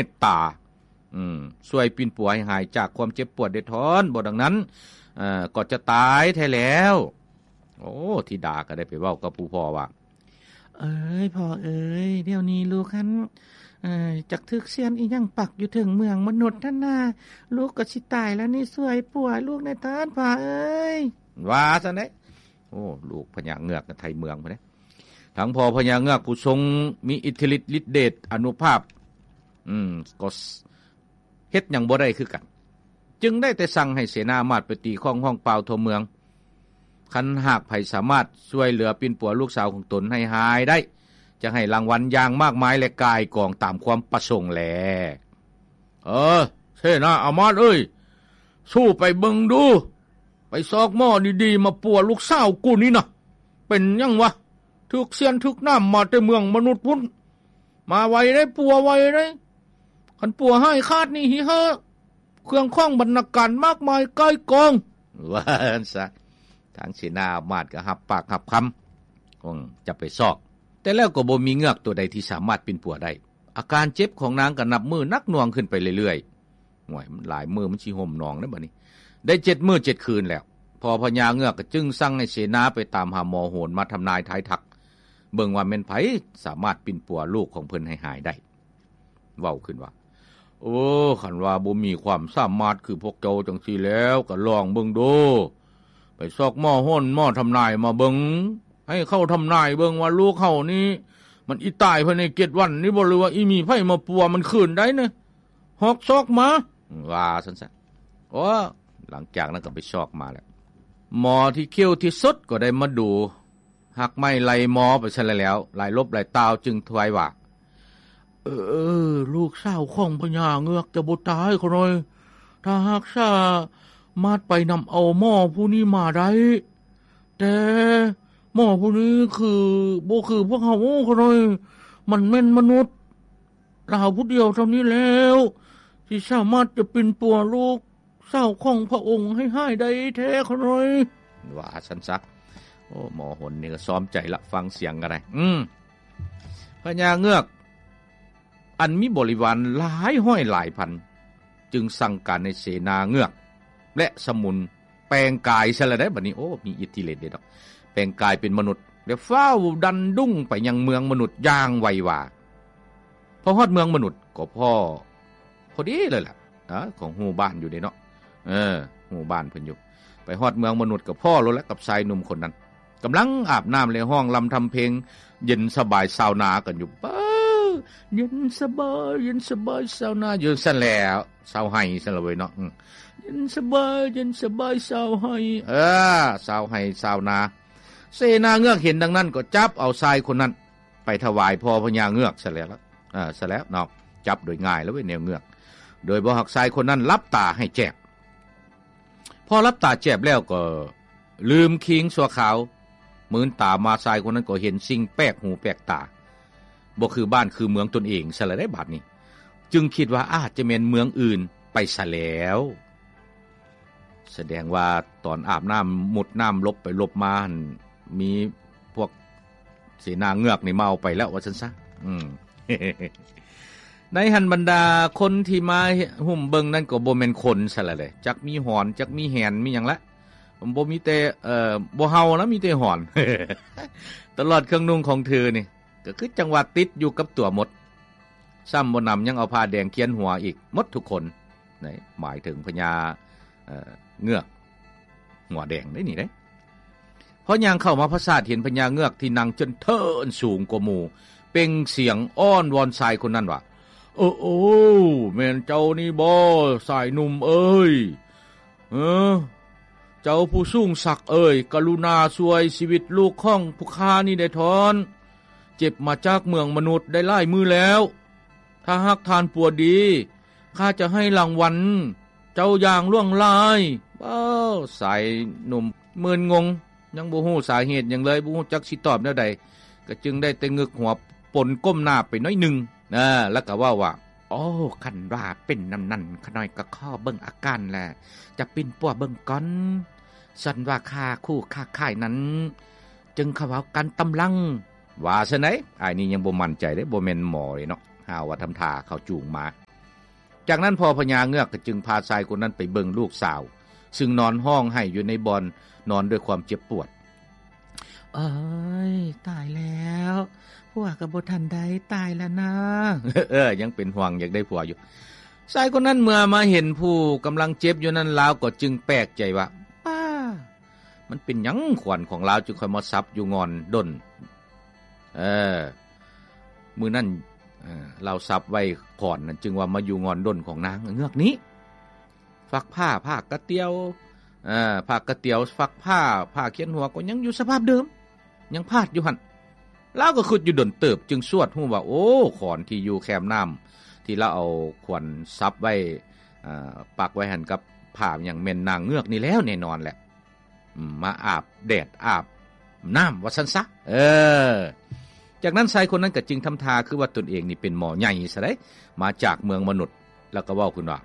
ດຕາ ອືມ ຊ່ວຍປິ່ນປົວໃຫ້ຫາຍຈາກຄວາມເຈັບປວດເດທອນ, ບໍ່ດັ່ງນັ້ນ ເອີ ກໍຈະຕາຍແທ້ແລ້ວ. ໂອ້ ທິດາກໍໄດ້ໄປເວົ້າກັບຜູ້ພໍ່ວ່າ ເອີຍ ພໍ່ເອີຍ ດຽວນີ້ລູກຫັ້ນ ເອີ ຈັກຖືກຊຽນອີ່ຫຍັງປັກຢູ່ເທິງເມືອງມະນຸດຫັ້ນນາ, ລູກກໍຊິຕາຍແລ້ວນີ້, ຊ່ວຍປົວລູກແດ່ເທີ້ນ ພໍ່ເອີຍ ວ່າຊັ້ນເດ້. ໂອ້ ລູກພະຍາເງືອກໄທເມືອງພຸ້ນເດ້. ທັງພໍ່ພະຍາເງືອກຜູ້ຊົງມີອິດທິລິດລິດເດດອານຸພາບ ອືມ ກໍ ເຮັດຫຍັງບໍ່ໄດ້ຄືກັນ, ຈຶ່ງໄດ້ແຕ່ສັ່ງໃຫ້ເສນາອາມາດໄປຕີຄ້ອງຮ້ອງປ່າວທົ່ວເມືອງ. ຄັນຫາກໃຜສາມາດຊ່ວຍເຫຼືອປິ່ນປົວລູກສາວຂອງຕົນໃຫ້ຫາຍໄດ້, ຈະໃຫ້ລາງວັນຢ່າງມາກມາຍ ແລະ ກ່າຍກອງຕາມຄວາມປະສົງແລ. ເອີ ເສນາອາມາດເອີຍ, ສູ້ໄປເບິ່ງດູ, ໄປຊອກໝໍດີໆມາປົວລູກສາວກູນີ້ນະ. ເປັນຫຍັງວະ? ຖືກຊຽນຖືກໜາມມາແຕ່ເມືອງມະນຸດພຸ້ນ. ມາໄວເດ້, ປົວໄວເດ້. ຄັນປົວຫາຍຂາດນີ້ຫິເຫີ ເຄື່ອງຂອງບັນນາການມາກມາຍກ່າຍກອງ ວ່າຊັ້ນຊະ. ທາງເສນາອາມາດກໍຮັບປາກຮັບຄຳ ຄງຈະໄປຊອກ, ແຕ່ແລ້ວກໍບໍ່ມີເງືອກຕົວໃດທີ່ສາມາດປິ່ນປົວໄດ້. ອາການເຈັບຂອງນາງກໍນັບມື້ໜັກໜ່ວງຂຶ້ນໄປເລື້ອຍໆ. ໂອ້ຍ ມັນຫຼາຍມື້ມັນຊິຫົ່ມໜອງແລ້ວບັດນີ້. ໄດ້ເຈັດມື້ເຈັດຄືນແລ້ວ, ພໍ່ພະຍາເງືອກກໍຈຶ່ງສັ່ງໃຫ້ເສນາໄປຕາມຫາໝໍໂຫນມາທຳນາຍທາຍທັກ ເບິ່ງວ່າແມ່ນໃຜສາມາດປິ່ນປົວລູກຂອງເພິ່ນໃຫ້ຫາຍໄດ້. ເວົ້າຂຶ້ນວ່າ ໂອ້ ຄັນວ່າບໍ່ມີຄວາມສາມາດຄືພວກເຈົ້າຈັ່ງຊີ້ແລ້ວ ກໍລອງເບິ່ງດູ. ໄປຊອກໝໍໂຫນໝໍທຳນາຍມາເບິ່ງ, ໃຫ້ເຂົາທຳນາຍເບິ່ງວ່າລູກເຮົານີ້ ມັນອີຕາຍພາຍໃນເຈັດວັນນີ້ບໍ່ ຫຼືວ່າອີມີໃຜມາປົວມັນຄືນໄດ້ນະ. ຮອກຊອກມາ ວ່າຊັ້ນຊະ. ໂອ້ ຫຼັງຈາກນັ້ນກໍໄປຊອກມາແລ້ວ, ໝໍທີ່ເຂົ້າທີ່ສຸດກໍໄດ້ມາດູ ຮັກໄມ້ໄລ່ໝໍໄປຊັ້ນແຫຼະແລ້ວ, ຫຼາຍລົບຫຼາຍຕ່າວຈຶ່ງຖວາຍວ່າ ເອີ ລູກສາວຂອງພະຍາເງືອກຈະບໍ່ຕາຍຂະນ້ອຍ ຖ້າຫາກສາມາດໄປນຳເອົາໝໍຜູ້ນີ້ມາໄດ້. ແຕ່ໝໍຜູ້ນີ້ຄື ບໍ່ຄືພວກເຮົາຂະນ້ອຍ, ມັນແມ່ນມະນຸດລາວຜູ້ດຽວເທົ່ານີ້ແລ້ວ ທີ່ສາມາດຈະປິ່ນປົວລູກ ສາວຂອງພະອົງໃຫ້ຫາຍໄດ້ແທ້ຂະນ້ອຍ ວ່າຊັ້ນຊະ. ໂອ້ ໝໍຫົນນີ້ກໍຊອມໃຈລະ, ຟັງສຽງກໍໄດ້. ອືມ ພະຍາເງືອກ ອັນມີບໍລິວານຫຼາຍຮ້ອຍຫຼາຍພັນ ຈຶ່ງສັ່ງການໃຫ້ເສນາເງືອກ ແລະ ສະໝຸນແປງກາຍຊະລະໄດ໋ບັດນີ້. ໂອ້ ມີອິດທິເດດເດດອກ, ແປງກາຍເປັນມະນຸດ ແລ້ວຟ້າວດັນດຸ້ງໄປຍັງເມືອງມະນຸດຢ່າງໄວວາ. ພໍຮອດເມືອງມະນຸດກໍພໍ ພໍດີເລີຍລະ ອາ ຂອງຮູ້ບ້ານຢູ່ເດ້ເນາະ. ເອີ ຮູ້ບ້ານເພິ່ນຢູ່. ໄປຮອດເມືອງມະນຸດກໍພໍໂລດລະກັບຊາຍໜຸ່ມຄົນນັ້ນ ກຳລັງອາບນ້ຳ ແລະ ຮ້ອງລຳທຳເພງເຢັນສະບາຍຊາວນາກັນຢູ່. ເອີ ເຢັນສະບາຍ ເຢັນສະບາຍຊາວນາ ຢູ່ຊັ້ນແຫຼະ ຊາວໄຮ່ຊັ້ນລະເວີຍເນາະ. ເຢັນສະບາຍ ເຢັນສະບາຍຊາວໄຮ່ ເອີ ຊາວໄຮ່ຊາວນາ. ເສນາເງືອກເຫັນດັ່ງນັ້ນກໍຈັບເອົາຊາຍຄົນນັ້ນ ໄປຖວາຍພໍ່ພະຍາເງືອກຊະແລ້ວ ເອີ ຊະແລ້ວເນາະ. ຈັບໂດຍງ່າຍແລ້ວເວີຍແນວເງືອກ ໂດຍບໍ່ຮັກຊາຍຄົນນັ້ນຫຼັບຕາໃຫ້ແຈ້ງ. ພໍຫຼັບຕາແຈບແລ້ວກໍລືມຄີງຊົ່ວຄາວ, ມືນຕາມາຊາຍຄົນນັ້ນກໍເຫັນສິ່ງແປກຫູແປກຕາ ບໍ່ຄືບ້ານຄືເມືອງຕົນເອງຊະລະໄດ໋ບາດນີ້, ຈຶ່ງຄິດວ່າອາດຈະແມ່ນເມືອງອື່ນໄປຊະແລ້ວ. ສະແດງວ່າຕອນອາບນ້ຳ ມຸດນ້ຳຫຼົບໄປຫຼົບມາຫັ້ນ ມີພວກເສນາເງືອກນີ້ມາເອົາໄປແລ້ວວ່າຊັ້ນຊະ. ອືມ ໃນຫັ້ນບັນດາຄົນທີ່ມາຫຸ້ມເບິ່ງນັ້ນກໍບໍ່ແມ່ນຄົນຊະລະເດ, ຈັກມີຫອນ ຈັກມີແຫນ ມີຫຍັງລະ, ບໍ່ມີແຕ່ ເອີ ບໍ່ເຫົ່າລະ ມີແຕ່ຫອນ. ຕະຫຼອດເຄື່ອງນຸ່ງຂອງເທີນີ້ ກໍຄືຈັ່ງວ່າຕິດຢູ່ກັບຕົວໝົດ. ຊ້ຳບໍ່ໜຳຍັງເອົາຜ້າແດງຂຽນຫົວອີກໝົດທຸກຄົນ. ນີ້ໝາຍເຖິງພະຍາ ເອີ ເງືອກຫົວແດງເດ້ນີ້ເດ້. ພໍຍ່າງເຂົ້າມາປາສາດ ເຫັນພະຍາເງືອກທີ່ນັ່ງຈົນເທີນສູງກວ່າໝູ່ ເປັ່ງສຽງອ້ອນວອນຊາຍຄົນນັ້ນວ່າ ໂອ້ ໂອ້ ແມ່ນເຈົ້ານີ້ບໍ່ ຊາຍໜຸ່ມເອີຍ? ເອີ ເຈົ້າຜູ້ສູງສັກເອີຍ, ກະລຸນາຊ່ວຍຊີວິດລູກຂອງພວກຂ້ານີ້ແດ່ທ່ອນ. ເຈັບມາຈາກເມືອງມະນຸດໄດ້ຫຼາຍມື້ແລ້ວ. ຖ້າຫາກທ່ານປົວດີ, ຂ້າຈະໃຫ້ລາງວັນເຈົ້າຢ່າງຫຼວງຫຼາຍ. ເວົ້າ ຊາຍໜຸ່ມມຶນງົງ, ຍັງບໍ່ຮູ້ສາເຫດຫຍັງເລີຍ, ບໍ່ຮູ້ຈັກຊິຕອບແນວໃດ, ກໍຈຶ່ງໄດ້ແຕ່ງຶກຫົວປົນກົ້ມໜ້າໄປໜ້ອຍໜຶ່ງ. ເອີ ແລ້ວກໍເວົ້າວ່າ ໂອ້ ຄັນວ່າເປັນນຳນັ້ນ ຂ້ານ້ອຍກໍຂໍເບິ່ງອາການ ແລະ ຈະປິ່ນປົວເບິ່ງກ່ອນ. ສ່ວນວ່າຄ່າຄູ່ຄ້າຂາຍນັ້ນ ຈຶ່ງຄ່ອຍເວົ້າກັນຕາມຫຼັງ. ວ່າຊັ້ນໃດ໋, ອ້າຍນີ້ຍັງບໍ່ໝັ້ນໃຈເດ້, ບໍ່ແມ່ນໝໍເດ້ເນາະ. ຫາວ່າທຳທ່າເຂົາຈູງມາ. ຈາກນັ້ນພໍ່ພະຍາເງືອກກໍຈຶ່ງພາຊາຍຄົນນັ້ນໄປເບິ່ງລູກສາວ ຊຶ່ງນອນຮ້ອງໄຫ້ຢູ່ໃນບ່ອນນອນດ້ວຍຄວາມເຈັບປວດ. ເອີຍ ຕາຍແລ້ວ ຜົວກໍບໍ່ທັນໄດ້ ຕາຍແລ້ວນາ. ເອີ ຍັງເປັນຫ່ວງ ຢາກໄດ້ຜົວຢູ່. ຊາຍຄົນນັ້ນເມື່ອມາເຫັນຜູ້ກຳລັງເຈັບຢູ່ນັ້ນ ລາວກໍຈຶ່ງແປກໃຈວ່າ ປ້າ ມັນເປັນຫຍັງຂວັນຂອງລາວຈຶ່ງຄ່ອຍມາສັບຢູ່ງ່ອນດົນ? ເອີ ມື້ນັ້ນ ເອີ ລາວສັບໄວ້ຂອນນັ້ນ ຈຶ່ງວ່າມາຢູ່ງ່ອນດົນຂອງນາງເງືອກນີ້. ຟາກຜ້າ ຜ້າກະຕຽວ ເອີ ຜ້າກະຕຽວ ຟາກຜ້າ ຜ້າຂຽນຫົວກໍຍັງຢູ່ສະພາບເດີມ ຍັງພາດຢູ່ຫັ້ນ. ລາວກໍຄິດຢູ່ດົນເຕີບ ຈຶ່ງຊວດຮູ້ວ່າ ໂອ້ ຂອນທີ່ຢູ່ແຄມນ້ຳ ທີ່ລາວເອົາຂວັນສັບໄວ້ ເອີ ປັກໄວ້ຫັ້ນກັບຜ້າຫຍັງ ແມ່ນນາງເງືອກນີ້ແລ້ວ ແນ່ນອນແຫຼະ. ອືມ ມາອາບແດດອາບນ້ຳວ່າຊັ້ນຊະ. ເອີ ຈາກນັ້ນຊາຍຄົນນັ້ນກໍຈຶ່ງທຳທ່າຄືວ່າຕົນເອງນີ້ເປັນໝໍໃຫຍ່ຊະໃດ໋ ມາຈາກເມືອງມະນຸດ ແລ້ວກໍເວົ້າຂຶ້ນວ່າ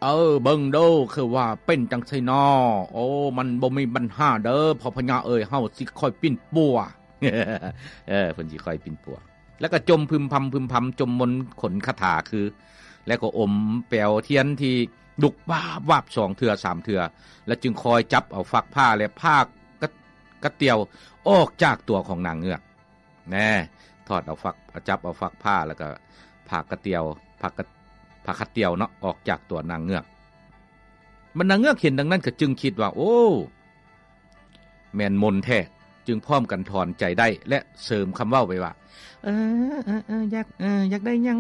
ເອີ ເບິ່ງເດີ ຄືວ່າເປັນຈັ່ງຊີ້ນາ. ໂອ້ ມັນບໍ່ມີບັນຫາເດີ ພໍ່ພະຍາເອີຍ ເຮົາຊິຄ່ອຍປິ່ນປົວ. ເອີ ເພິ່ນຊິຄ່ອຍປິ່ນປົວ. ແລ້ວກໍຈົ່ມພຶມພຳ ພຶມພຳ ຈົ່ມມົນຂົນຄາຖາຄື ແລ້ວກໍອົມແປວທຽນທີ່ລຸກວາບວາບສອງເທື່ອສາມເທື່ອ ແລ້ວຈຶ່ງຄ່ອຍຈັບເອົາຟາກຜ້າ ແລະ ຜ້າກະ ກະຕຽວອອກຈາກຕົວຂອງນາງເງືອກ. ແນ່ ຖອດເອົາຟາກ ຈັບເອົາຟາກຜ້າ ແລ້ວກໍຜ້າກະຕຽວ ຜ້າກະ ຜ້າຄາດຕຽວເນາະ ອອກຈາກຕົວນາງເງືອກ. ບັນດາເງືອກເຫັນດັ່ງນັ້ນກໍຈຶ່ງຄິດວ່າ ໂອ້ ແມ່ນມົນແທ້, ຈຶ່ງພ້ອມກັນຖອນໃຈໄດ້ ແລະ ເສີມຄຳເວົ້າໄປວ່າ ເອີ ເອີ ເອີ ຢາກ ເອີ ຢາກໄດ້ຫຍັງ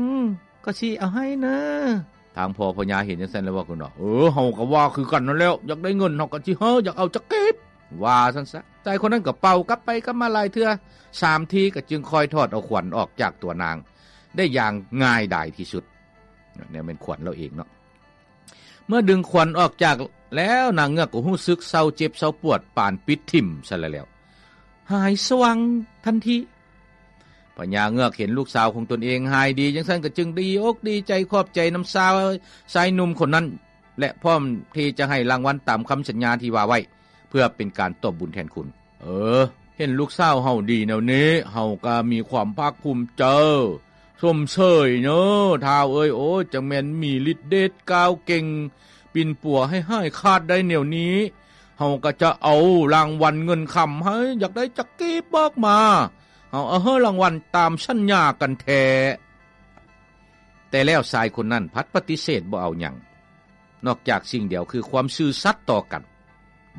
ກໍຊິເອົາໃຫ້ເນີ. ທາງພໍ່ພະຍາເຫັນຈັ່ງຊັ້ນແລ້ວເວົ້າຂຶ້ນວ່າ ເອີ ເຮົາກໍວ່າຄືກັນນັ້ນແຫຼ້ວ, ຢາກໄດ້ເງິນເຮົາກໍຊິໃຫ້, ຢາກເອົາຈັກກີບ, ວ່າຊັ້ນຊະ. ຊາຍຄົນນັ້ນກໍເປົ່າກັບໄປກັບມາຫຼາຍເທື່ອ, ສາມທີກໍຈຶ່ງຄ່ອຍຖອດເອົາຂວັນອອກຈາກຕົວນາງໄດ້ຢ່າງງ່າຍດາຍທີ່ສຸດ. ແນວແມ່ນຂວັນລາວເອງເນາະ. ເມື່ອດຶງຂວັນອອກຈາກແລ້ວ, ນາງເງືອກກໍຮູ້ສຶກເຊົາເຈັບເຊົາປວດປານປິດຖິ້ມຊະແລ້ວ, ຫາຍສະຫວ່າງທັນທີ. ພະຍາເງືອກເຫັນລູກສາວຂອງຕົນເອງຫາຍດີຈັ່ງຊັ້ນ ກໍຈຶ່ງດີອົກດີໃຈຂອບໃຈນຳຊາຍ ຊາຍໜຸ່ມຄົນນັ້ນ ແລະ ພ້ອມທີ່ຈະໃຫ້ລາງວັນຕາມຄຳສັນຍາທີ່ວ່າໄວ້ ເພື່ອເປັນການຕອບບຸນແທນຄຸນ. ເອີ ເຫັນລູກສາວເຮົາດີແນວນີ້ ເຮົາກໍມີຄວາມພາກພູມໃຈ ຊົມເຊີຍເນີ ທ້າວເອີຍ. ໂອ້ຍ ຈັ່ງແມ່ນມີລິດເດດກ້າວເກັ່ງ ປິ່ນປົວໃຫ້ຫາຍຂາດໄດ້ແນວນີ້, ເຮົາກໍຈະເອົາລາງວັນເງິນຄຳໃຫ້, ຢາກໄດ້ຈັກກີບບອກມາ, ເຮົາເອົາໃຫ້ລາງວັນຕາມສັນຍາກັນແທ້. ແຕ່ແລ້ວຊາຍຄົນນັ້ນພັດປະຕິເສດບໍ່ເອົາຫຍັງ ນອກຈາກສິ່ງດຽວຄືຄວາມຊື່ສັດຕໍ່ກັນ,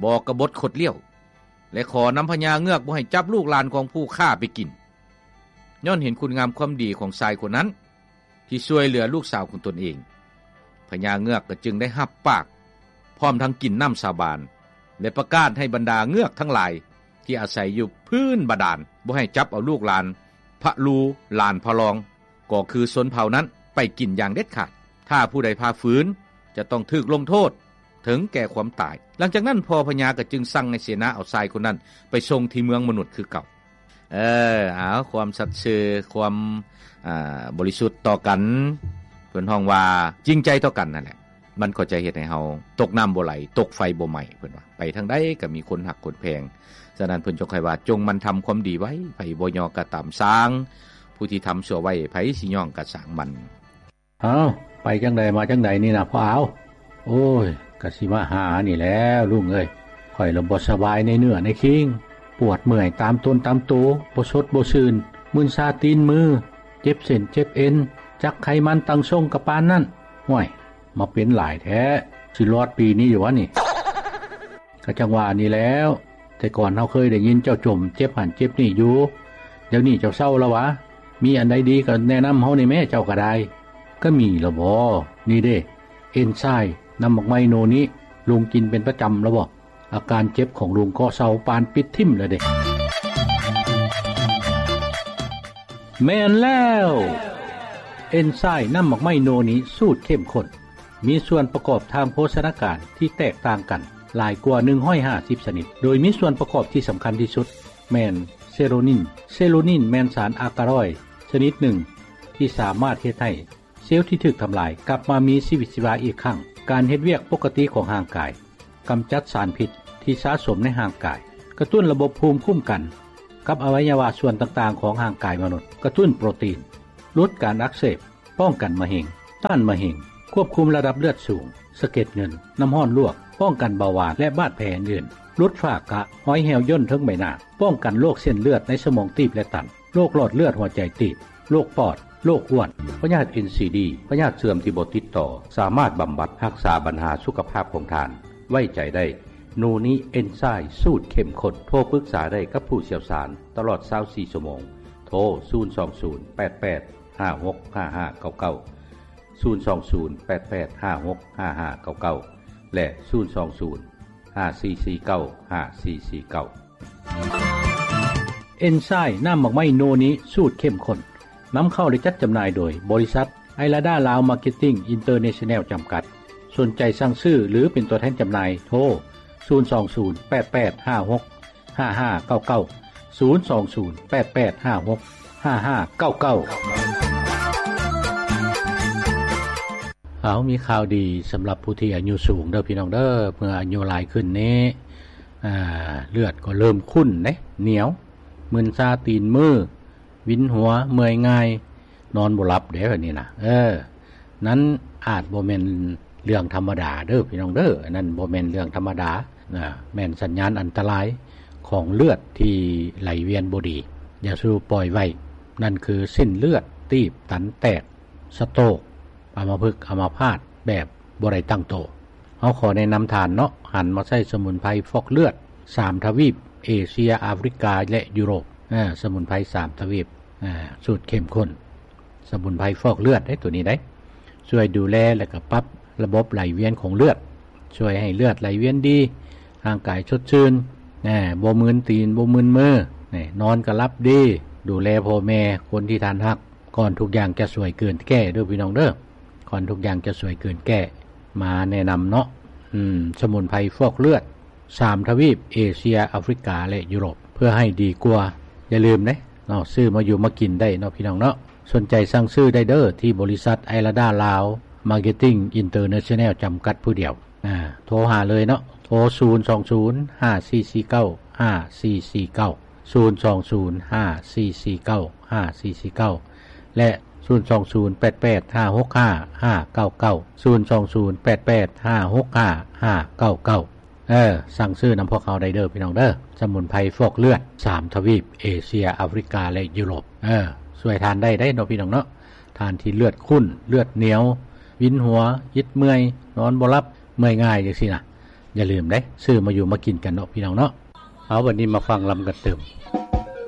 ບໍ່ກະບົດຄົດລ້ຽວ ແລະ ຂໍນຳພະຍາເງືອກບໍ່ໃຫ້ຈັບລູກຫຼານຂອງຜູ້ຂ້າໄປກິນ, ຍ້ອນເຫັນຄຸນງາມຄວາມດີຂອງຊາຍຄົນນັ້ນ ທີ່ຊ່ວຍເຫຼືອລູກສາວຂອງຕົນເອງ. ພະຍາເງືອກກໍຈຶ່ງໄດ້ຮັບປາກ ພ້ອມທັງກິນນ້ຳສາບານ ແລະ ປະກາດໃຫ້ບັນດາເງືອກທັງຫຼາຍທີ່ອາໄສຢູ່ພື້ນບາດານ ບໍ່ໃຫ້ຈັບເອົາລູກຫຼານພະລູ ຫຼານພະລອງ ກໍຄືຊົນເຜົ່ານັ້ນໄປກິນຢ່າງເດັດຂາດ. ຖ້າຜູ້ໃດຝ່າຝືນ ຈະຕ້ອງຖືກລົງໂທດເຖິງແກ່ຄວາມຕາຍ. ຫຼັງຈາກນັ້ນ ພໍ່ພະຍາກໍຈຶ່ງສັ່ງໃຫ້ເສນາເອົາຊາຍຄົນນັ້ນໄປສົ່ງທີ່ເມືອງມະນຸດຄືເກົ່າ. ເອີ ເອົາ ຄວາມສັດຊື່ ຄວາມ ອ່າ ບໍລິສຸດຕໍ່ກັນ, ເພິ່ນຮ້ອງວ່າຈິງໃຈຕໍ່ກັນນັ້ນແຫຼະ, ມັນກໍຈະເຮັດໃຫ້ເຮົາຕົກນ້ຳບໍ່ໄຫຼ ຕົກໄຟບໍ່ໄໝ້. ເພິ່ນວ່າໄປທາງໃດກໍມີຄົນຮັກຄົນແພງ. ສະນັ້ນເພິ່ນຈຶ່ງຄ່ອຍວ່າ ຈົ່ງໝັ່ນທຳຄວາມດີໄວ້, ໃຜບໍ່ຍໍກໍຕາມຊ່າງ, ຜູ້ທີ່ທຳຊົ່ວໄວ້ ໃຜຊິຍ້ອງກໍຊ່າງມັນ. ເອົ້າ ໄປຈັ່ງໃດມາຈັ່ງໃດນີ້ນະພໍ່ອາວ? ໂອ້ຍ ກະຊິມາຫານີ້ແຫຼະລຸງເອີຍ, ຂ້ອຍລະບໍ່ສະບາຍໃນເນື້ອໃນຄີງ, ປວດເມື່ອຍຕາມຕົນຕາມໂຕ, ບໍ່ສົດບໍ່ຊື່ນ, ມຶນຊາຕີນມື, ເຈັບເສັ້ນເຈັບເອັນ, ຈັກໄຂມັນຕັ້ງຊົງກະປານນັ້ນ. ຫ້ວຍ ມາເປັນຫຼາຍແທ້, ຊິລອດປີນີ້ຢູ່ຫວານີ້? ກະຈັ່ງວ່ານີ້ແຫຼ້ວ, ແຕ່ກ່ອນເຮົາເຄີຍໄດ້ຍິນເຈົ້າຈົ່ມເຈັບຫັ້ນເຈັບນີ້ຢູ່, ດຽວນີ້ເຈົ້າເຊົາລະຫວາ? ມີອັນໃດດີກໍແນະນຳເຮົາແດ່ແມ້ ເຈົ້າກໍໄດ້. ກໍມີລະບໍ? ນີ້ເດ້ ເອັນຊາຍນ້ຳໝາກໄມ້ໂນນີ້ ລຸງກິນເປັນປະຈຳລະບໍ? ອາການເຈັບຂອງລຸງກໍເຊົາປານປິດຖິ້ມລະເດ້. ແມ່ນແລ້ວ! ເອັນຊາຍນ້ຳໝາກໄມ້ໂນນີ້ສູດເຂັ້ມຂຸ້ນ ມີສ່ວນປະກອບທາງໂພຊະນາການທີ່ແຕກຕ່າງກັນຫຼາຍກວ່າໜຶ່ງຮ້ອຍຫ້າສິບຊະນິດ, ໂດຍມີສ່ວນປະກອບທີ່ສຳຄັນທີ່ສຸດແມ່ນເຊໂຣນິນ. ເຊໂຣນິນແມ່ນສານອາກາລອຍຊະນິດໜຶ່ງທີ່ສາມາດເຮັດໃຫ້ເຊວທີ່ຖືກທຳລາຍກັບມາມີຊີວິດຊີວາອີກຄັ້ງ. ການເຮັດວຽກປົກກະຕິຂອງຮ່າງກາຍ ກຳຈັດສານພິດທີ່ສະສົມໃນຮ່າງກາຍ, ກະຕຸ້ນລະບົບພູມຄຸ້ມກັນກັບອະໄວຍະວະສ່ວນຕ່າງໆຂອງຮ່າງກາຍມະນຸດ, ກະຕຸ້ນໂປຣຕີນ, ຫຼຸດການອັກເສບ, ປ້ອງກັນມະເຮັງ, ຕ້ານມະເຮັງ, ຄວບຄຸມລະດັບເລືອດສູງ, ສະເກັດເງິນ, ນ້ຳຮ້ອນລວກ, ປ້ອງກັນເບົາຫວານ ແລະ ບາດແຜອື່ນໆ, ຫຼຸດຝ້າກະ, ຮອຍແຮວຍ່ນເທິງໃບໜ້າ, ປ້ອງກັນໂລກເສັ້ນເລືອດໃນສະໝອງຕີບ ແລະ ຕັນ, ໂລກຫຼອດເລືອດຫົວໃຈຕີບ, ໂລກປອດ, ໂລກອ້ວນ, ພະຍາດເອັນຊີດີ, ພະຍາດເຊື່ອມທີ່ບໍ່ຕິດຕໍ່, ສາມາດບຳບັດຮັກສາບັນຫາສຸຂະພາບຂອງທ່ານ. ໄວ້ໃຈໄດ້ ໂນນິເອັນໄຊລ໌ສູດເຂັ້ມຂຸ້ນ. ໂທປຶກສາໄດ້ກັບຜູ້ຊ່ຽວຊານຕະຫຼອດຊາວສີ່ຊົ່ວໂມງ. ໂທ ສູນສອງສູນ ແປດແປດ ຫ້າຫົກ ຫ້າຫ້າເກົ້າເກົ້າ, ສູນສອງສູນ ແປດແປດ ຫ້າຫົກ ຫ້າຫ້າເກົ້າເກົ້າ ແລະ ສູນສອງສູນ ຫ້າສີ່ສີ່ເກົ້າ ຫ້າສີ່ສີ່ເກົ້າ. ເອັນໄຊລ໌ນ້ຳໝາກໄມ້ໂນນິສູດເຂັ້ມຂຸ້ນ ນຳເຂົ້າ ແລະ ຈັດຈຳໜ່າຍໂດຍ ບໍລິສັດ ໄອລາດາ ລາວ ມາເກັດຕິ້ງ ອິນເຕີເນຊັນແນລ ຈຳກັດ. ສົນໃຈສັ່ງຊື້ ຫຼື ເປັນຕົວແທນຈຳໜ່າຍ ໂທ ສູນສອງສູນ ແປດແປດ ຫ້າຫົກ ຫ້າຫ້າເກົ້າເກົ້າ, ສູນສອງສູນ ແປດແປດ ຫ້າຫົກ ຫ້າຫ້າເກົ້າເກົ້າ. ເອົາ ມີຂ່າວດີສຳລັບຜູ້ທີ່ອາຍຸສູງເດີພີ່ນ້ອງເດີ. ເມື່ອອາຍຸຫຼາຍຂຶ້ນນີ້ ອາ ເລືອດກໍເລີ່ມຂຸ້ນເດ້, ໜຽວ, ມຶນຊາຕີນມື, ວິນຫົວ, ເມື່ອຍງ່າຍ, ນອນບໍ່ຫຼັບເດ້ ແບບນີ້ນະ. ເອີ ນັ້ນອາດບໍ່ແມ່ນເລື່ອງທຳມະດາເດີພີ່ນ້ອງເດີ, ອັນນັ້ນບໍ່ແມ່ນເລື່ອງທຳມະດານະ, ແມ່ນສັນຍານອັນຕະລາຍຂອງເລືອດທີ່ໄຫຼວຽນບໍ່ດີ. ຢ່າສູ່ປ່ອຍໄວ້, ນັ້ນຄືເສັ້ນເລືອດຕີບຕັນແຕກ, ສະໂຕກ, ອຳມະພຶກອຳມະພາດແບບບໍ່ໄດ້ຕັ້ງໂຕ. ເຮົາຂໍແນະນຳທ່ານເນາະ, ຫັນມາໃຊ້ສະໝຸນໄພຟອກເລືອດສາມທະວີບ, ເອເຊຍ, ອາຟຣິກາ ແລະ ຢູໂຣບ. ອາ ສະໝຸນໄພສາມທະວີບ, ອາ ສູດເຂັ້ມຂຸ້ນ, ສະໝຸນໄພຟອກເລືອດເດ້ ໂຕນີ້ເດ້. ຊ່ວຍດູແລ ແລະ ກະປັບລະບົບໄຫຼວຽນຂອງເລືອດ, ຊ່ວຍໃຫ້ເລືອດໄຫຼວຽນດີ, ຮ່າງກາຍສົດຊື່ນ, ແນ່ ບໍ່ມຶນຕີນ, ບໍ່ມຶນມື, ແນ່ ນອນກະຫຼັບດີ, ດູແລພໍ່ແມ່, ຄົນທີ່ທ່ານຮັກ, ກ່ອນທຸກຢ່າງຈະສວຍເກີນແກ້ເດີພີ່ນ້ອງເດີ, ກ່ອນທຸກຢ່າງຈະສວຍເກີນແກ້. ມາແນະນຳເນາະ, ອືມ ສະໝຸນໄພຟອກເລືອດສາມທະວີບ, ເອເຊຍ, ອາຟຣິກາ ແລະ ຢູໂຣບ, ເພື່ອໃຫ້ດີກວ່າ. ຢ່າລືມເດ້ເນາະ, ຊື້ມາຢູ່ມາກິນໄດ້ເນາະພີ່ນ້ອງເນາະ. ສົນໃຈສັ່ງຊື້ໄດ້ເດີ ທີ່ບໍລິສັດ ໄອລາດາ ລາວ ມາເກັດຕິ້ງ ອິນເຕີເນຊັນແນລ ຈຳກັດຜູ້ດຽວ. ອາ ໂທຫາເລີຍເນາະ, ໂທ ສູນສອງສູນ ຫ້າສີ່ສີ່ເກົ້າ ຫ້າສີ່ສີ່ເກົ້າ, ສູນສອງສູນ ຫ້າສີ່ສີ່ເກົ້າ ຫ້າສີ່ສີ່ເກົ້າ ແລະ ສູນສອງສູນ ແປດແປດ ຫ້າຫົກຫ້າ ຫ້າເກົ້າເກົ້າ, ສູນສອງສູນ ແປດແປດ ຫ້າຫົກຫ້າ ຫ້າເກົ້າເກົ້າ. ເອີ ສັ່ງຊື້ນຳພວກເຮົາໄດ້ເດີພີ່ນ້ອງເດີ, ສະໝຸນໄພຟອກເລືອດສາມທະວີບ, ເອເຊຍ, ອາຟຣິກາ ແລະ ຢູໂຣບ. ເອີ ຊ່ວຍທ່ານໄດ້ເດ້ເນາະພີ່ນ້ອງເນາະ, ທ່ານທີ່ເລືອດຂຸ້ນ, ເລືອດໜຽວ, ວິນຫົວ, ອິດເມື່ອຍ, ນອນບໍ່ຫຼັບ, ເມື່ອຍງ່າຍຈັ່ງຊີ້ນະ. ຢ່າລືມເດ້, ຊື້ມາຢູ່ມາກິນກັນເນາະພີ່ນ້ອງເນາະ. ເອົາ ບັດນີ້ມາຟັງລຳກັນຕື່ມ.